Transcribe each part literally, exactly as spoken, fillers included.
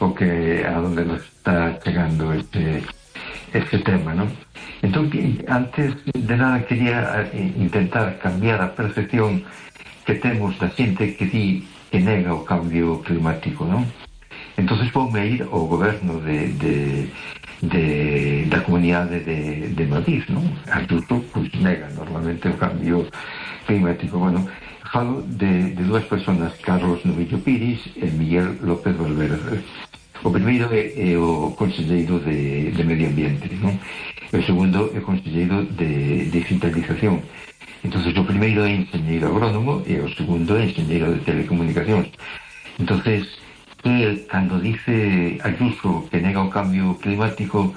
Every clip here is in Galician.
o que a donde nos está chegando este este tema, non? Entón, antes de nada quería intentar cambiar a percepción que temos da xente que di que nega o cambio climático, non? Entonces voume ir ao goberno de, de, de da comunidade de, de Madrid, non? Ayuso, pois, nega normalmente o cambio climático. Bueno, falo de, de dúas personas, Carlos Novillo Piris e Miguel López Valverde. O primeiro é, é o conselleiro de, de Medio Ambiente, non? E o segundo é o conselleiro de digitalización. Entonces o primeiro é enxeñeiro agrónomo e o segundo é enxeñeiro de telecomunicacións. Entonces, él, cando dice Ayuso que nega o cambio climático,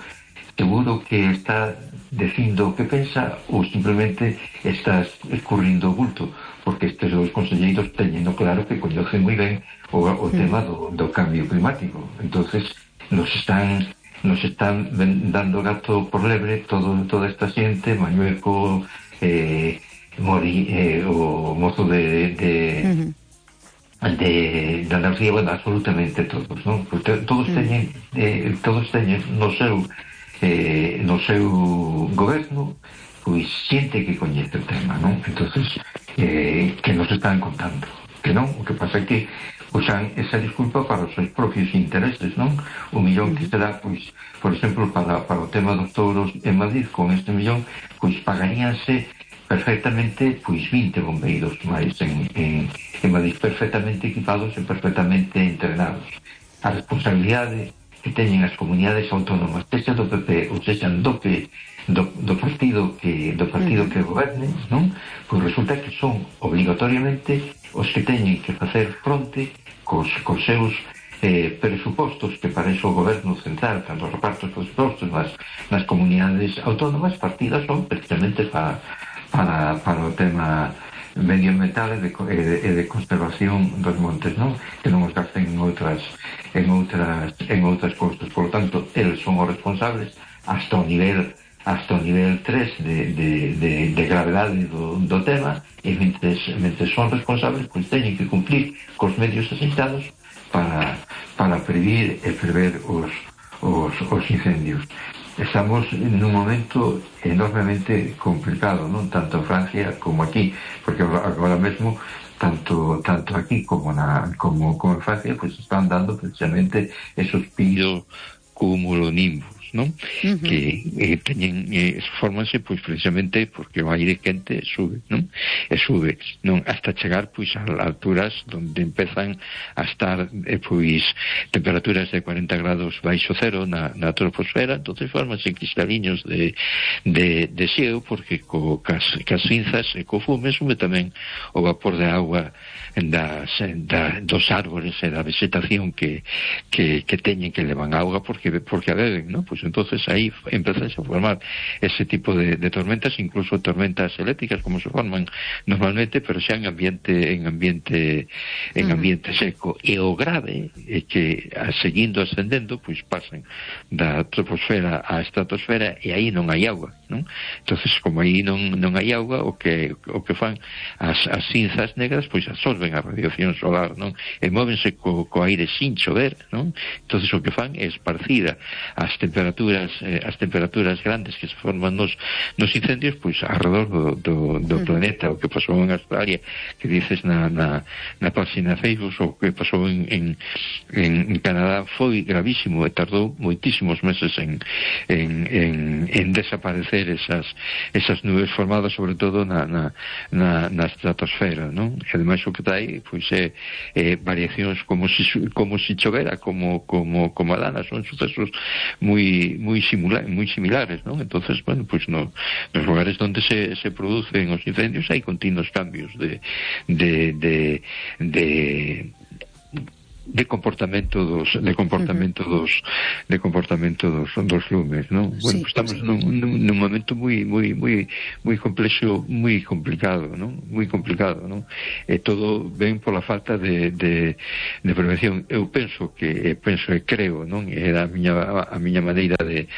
seguro que está dicindo o que pensa ou simplemente está escurrindo o bulto, porque estes dos conselleiros teñen claro que coñecen moi ben o, o tema do, do cambio climático. Entonces nos están nos están dando gato por lebre todo, toda esta xente, Mañueco, eh, Mori, eh, o mozo de, de, uh-huh. de, de energía, bueno, absolutamente todos, non? Porque todos uh-huh. teñen eh, todos teñen no seu eh, no seu goberno pois xente que coñece o tema, non? Entonces eh, que nos están contando que non, o que pasa é que usan esa disculpa para os seus propios intereses, non? O millón que será, pois, por exemplo, para, para o tema dos touros en Madrid, con este millón, pois pagaríanse perfectamente, pois, vinte bombeiros máis en, en, en Madrid, perfectamente equipados e perfectamente entrenados. A responsabilidade que teñen as comunidades autónomas, sexa do P P ou sexa do P do, do partido que do partido que goberne, non? Pois resulta que son obligatoriamente os que teñen que facer fronte cos, cos seus eh, presupostos, que para iso o goberno central, cando reparte os presupostos nas, nas comunidades autónomas, partidas son precisamente para, para, para o tema medioambiental e de, e, de, e de conservación dos montes, non? Que non os gasten en outras en outras en outras cousas. Por lo tanto, eles son os responsables hasta o nivel hasta o nivel tres de, de, de, de gravedade do, do tema, e mentre, mentre son responsables, pois teñen que cumplir cos medios asentados para, para previr e prever os, os, os incendios. Estamos nun momento enormemente complicado, non? Tanto en Francia como aquí, porque agora mesmo tanto tanto aquí como na como, como en Francia, pois están dando precisamente esos piros cumulonimbus, non? Uh-huh. Que eh, teñen eh, formanse pois precisamente porque o aire quente sube, non? E sube, non? Hasta chegar pois a alturas onde empezan a estar eh, pois temperaturas de cuarenta grados baixo cero na, na troposfera. Entonces formanse cristaliños de, de, de xeo, porque co, cas, cas cinzas e co fume sube tamén o vapor de agua das, da, dos árboles e da vegetación que, que, que teñen, que levan auga porque, porque a beben, non? Pois entonces aí empezan a formar ese tipo de, de tormentas, incluso tormentas eléctricas como se forman normalmente, pero xa en ambiente en ambiente en ambiente seco. E o grave é que a, seguindo ascendendo, pois pasan da troposfera á estratosfera e aí non hai auga, non? Entonces, como aí non, non hai auga, o que o que fan as, as cinzas negras, pois absorben a radiación solar, non? E móvense co, co aire sin chover, non? Entonces o que fan é esparcida as temperaturas Eh, as temperaturas grandes que se forman nos, nos incendios pois alrededor do, do, do planeta. O que pasou en Australia, que dices na, na, na página Facebook, o que pasou en, en, en Canadá foi gravísimo e tardou moitísimos meses en, en, en, en desaparecer esas, esas nubes formadas sobre todo na, na, na, na estratosfera, non? E ademais o que trae pois é eh, variacións como si, como si chovera, como, como, como a lana. Son sucesos moi moi similares, moi similares, non? Entonces, bueno, pues no, nos lugares onde se, se producen os incendios hai continuos cambios de de de de de comportamento dos de comportamento uh-huh. dos de comportamento dos dos lumes, non? Bueno, sí, pues estamos sí. nun, nun, nun momento moi moi moi moi complexo, moi complicado, non? Moi complicado, non? E todo ven pola falta de de de prevención. Eu penso que penso e creo, non? Era a miña a miña maneira de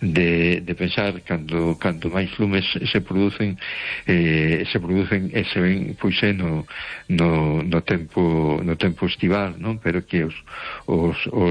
de de pensar cando cando máis lumes se producen eh se producen e se ven pois no no no tempo no tempo estival, non? Pero que os, os, os